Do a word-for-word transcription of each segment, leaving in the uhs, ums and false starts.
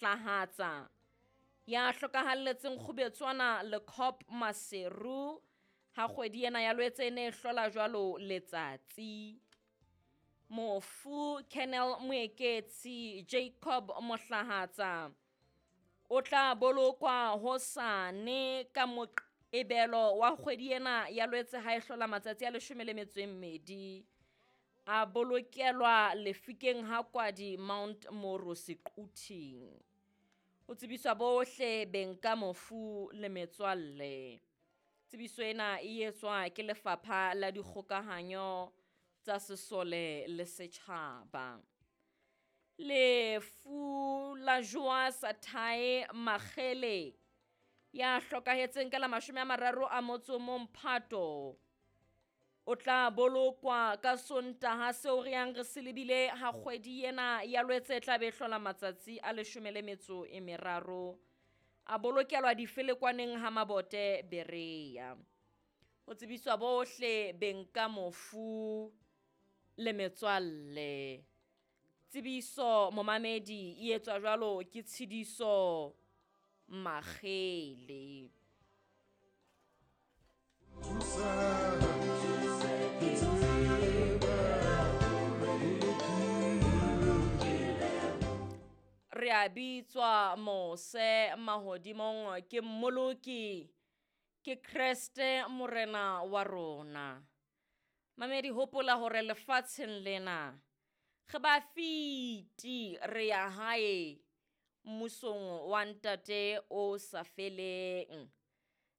Mohlahatsa ya hlokahalletseng Kgubetswana Lekop Maseru ha kgwedi ena ya Lwetse e ne e hlola jwalo letsatsi. Mofu Colonel Moeketsi Jacob Mohlahatsa o tla bolokwa hosane ka Moqebelo wa kgwedi ena ya Lwetse ha e hlola matsatsi a leshome le metso e mmedi. A bolokelwa lefikeng ha Kwadi Mount Moru Sequthing. Ho tsebiswa bohle beng ka mofu le metswalle. Tsebiso ena e etswa ke Lefapha la Dikgokahanyo tsa Sesole le Setjhaba. Lefu la Joas Thae Makgele ya hlokahetseng ka la mashome a mararo a motso o mong Phato o tla bolokwa ka Sontaha seo re yang re se lebile ha kgwedi ena ya Lwetse e tla be e hlola matsatsi a leshome le metso e meraro. A bolokelwa difelekwaneng ha Mabote Berea. Ho tsebiswa bohle beng ka mofu le metswalle. Tsebiso momamedi e etswa jwalo ke Tshidiso Makgele. Re a bitswa mose mahodimong ke Mmoloki, ke Kreste Morena wa rona. Mamedi, hopola hore lefatsheng lena re ba fiti, re ya hae mmusong wa Ntate o sa feleng.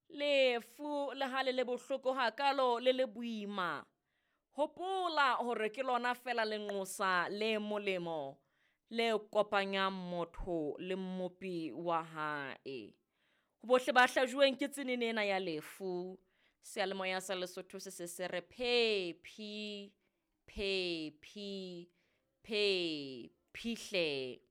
Lefu le ha le le bohloko hakalo le le boima, hopola hore ke lona fela lenqosa le molemo le kopanyang motho le Mmopi wa hae. Ho bohle ba hlajuweng ke tsenene ena ya lefu, seyalemoya sa Lesotho se se se re phephi, phephi, phephi hle.